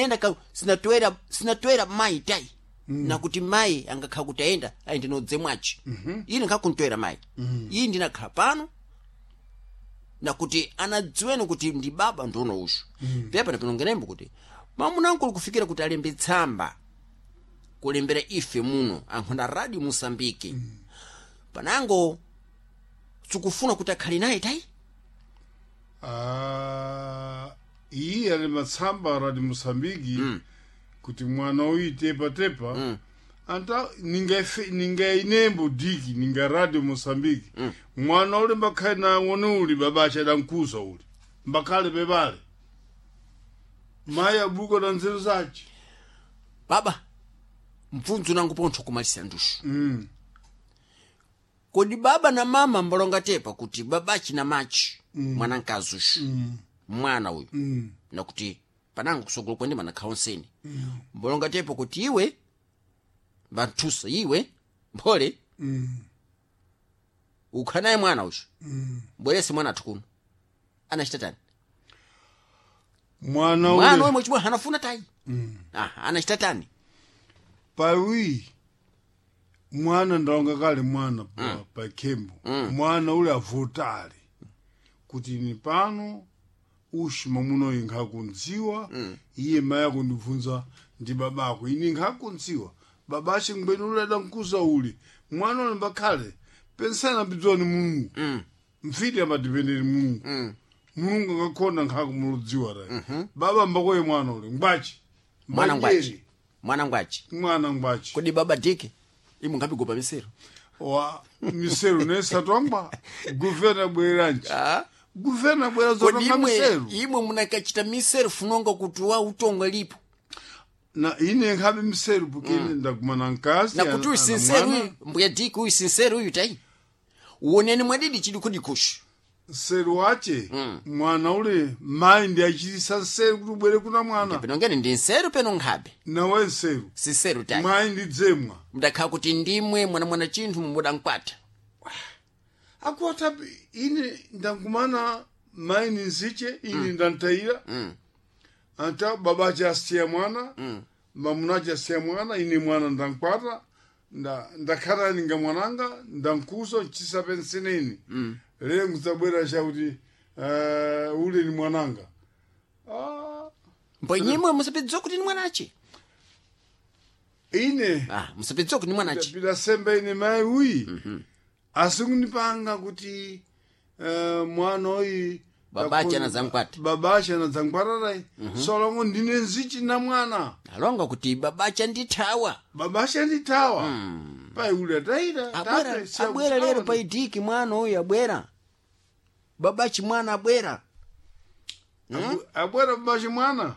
Enda ka sinatwera sinatwera mayi tayi nakuti mayi angakhala kuti ayenda ayende nodze mwaci ine nkhakuntwera mayi iyi ndinakhala pano nakuti anadziwene kuti ndi baba ndiono uxu pepano pinongenembo kuti mamunankulu kufikira kuti alembe tsamba kulembera ife muno ankhonda radio Mosambike panango sikufuna kuti akhale naye tayi. Ah, iyi ali matsamba radio Mosambiki kuti mwana uyu tepatepa anta ninga inembo diki ninga radio Mosambiki mwana uli mbakhale na wone uli baba achadankuza uli mbakhale bebale mayi abuka na nzeru zace. Baba mpfundzo nangu pontho kumalisa nduxu kodi baba na mama mbalonga tepa kuti babachi na machi mwanankazi uxu mwana uyu nakuti panango kusogolo kwende manakhaonseni mbalonga tepa kuti iwe vanthusa iwe mphole ukhanaye mwana uxu mbwerese mwana athu kuno anachita tani mwana mwana ule uyu mwachibwa anafuna tayi aha anachita tani. Pawi mwana ndalonga kale mwana pa khembo mwana ule avotale kuti ni pano ushi mamuno uyu nkhakundziwa iye mayi akundibvunza ndi babako ine nkhakundziwa babache ngweni ule adankuza uli mwana ule mbakhale pensana mbidzoni mulungu mfiti amadipenderi mulungu mulungu angakhonda nkhakumuludziwa tayi baba mbakoye mwana ule ngwachi. Mwana ngwachi. Mbanjeri. Mwana ngwachi. Mwana ngwachi. Kodi baba dike imwe nkhapigopa misero Wa misero nesatwangwa guvena bweranji ah. guvena bwera Kodi zotanga imwe misero imwe munakachita misero funonga kuti wa utonga lipo na ine nkhabe misero porque ine ndagumana nkazi nakuti uyu sinsero uyu mbuya diki uyu sinsero uyu tayi uoneni mwadidi chidi kudikuxu nseru wache mwana ule mayi ndi achitisa nseru kuti ubwere kuna mwana. Pinongeni ndi nseru peno nkhabe Nawe nseru. Sinseru tayi. Mayi ndi dzemwa. Mudakhala kuti ndimwe mwana mwana chinthu mumudankwata. Akuata ine ndagumana mayi ni nziche ine ndantayira anta babache asiya mwana mamunache asiya mwana ine mwana ndankwata ndakhala ninga mwananga ndankuza nchisapenseneni lero nkudzabwera chakuti ule ni mwananga. Ah, Mbo nyimwe musapidziwa kuti ni mwanache. Ine ah musapidziwa kuti ni mwanache. Ndapita sembe ine mayi uyi asikunipanga kuti mwana uyi Babache anadzankwata. Babache anadzankwatatayi solongo ndine nzichi na mwana. Alonga kuti babache ndithawa. Babache andithawa payi ule atayira. Abwera tate, siya abwera lero kuthawa. paidiki mwana uyu abwera babachi mwana abwera. Abwera babache mwana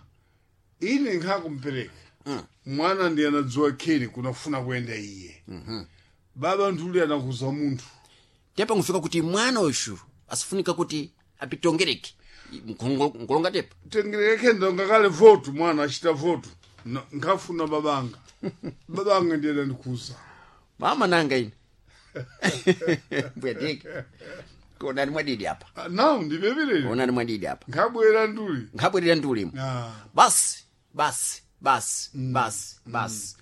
ine nkhakumpereka mwana ndi anadziwa kheri kunafuna kuyenda iye baba nthuli anakuza munthu. Tepa nkufika kuti mwana uyu asifunika kuti apitongereke nkulonga tepa. Tengereke ndonga kale votu mwana achita votu nkhafuna babanga babanga ndiye andikuza. Mama nanga ine mbuya diki konani mwadidi apa. Ah, nawu ndipepelere. Onani mwadidi apa. Nkhabwera nduli. Nkhabwerera ndiulimo. Ah, basi basi basi basi basi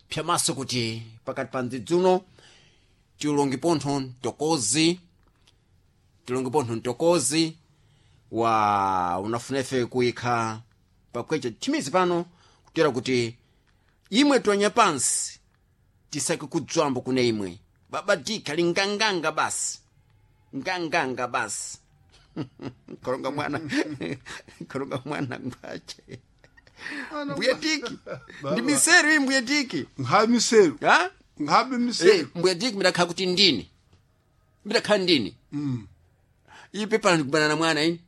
pyamaso kuti pakati pa ndzidzuno tilongi pontho mtokozi tilongi pontho mtokozi wa unafuna ife kuyikha pakwecha thimizi pano kutera kuti imwe tonya pansi tisake kudzwambo kune imwe baba dika linganganga basi nganganga basi kolonga mwana kolonga mwana ngwache mbuya diki ndi miseru iyi mbuya diki. Nkhabe miseru. Ha. Nkhabe Eh, miseru. mbuya diki midakhala kuti ndini midakhala ndini iyi pepala ndikubana na mwana ini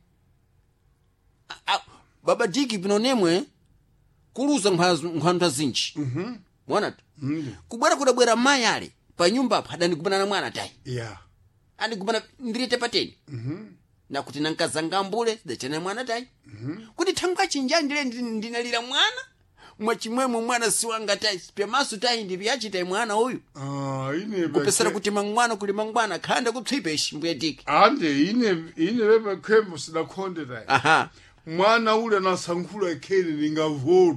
baba diki pino nemwe kuluza nkhwanthu zinji mwanatu kubwera kudabwera mayi ale pa nyumba apo adandigumana na mwana tayi ya andigumana ndirite pateni nakuti nankazanga mbule sidachana mwana tayi kuti thangwa chinja ndile ndinalira mwana mwachimwemwe mwana siwanga tayi pyamaso tayi ndipyachitayi mwana uyu. Ah, ine Kupesera kuti mangwana kuli mangwana khanda kupsipa ishi mbuya diki. Ande ine ine pepa khembo sidakhonde tayi aha mwana ule anasankhula kheri lingavotu.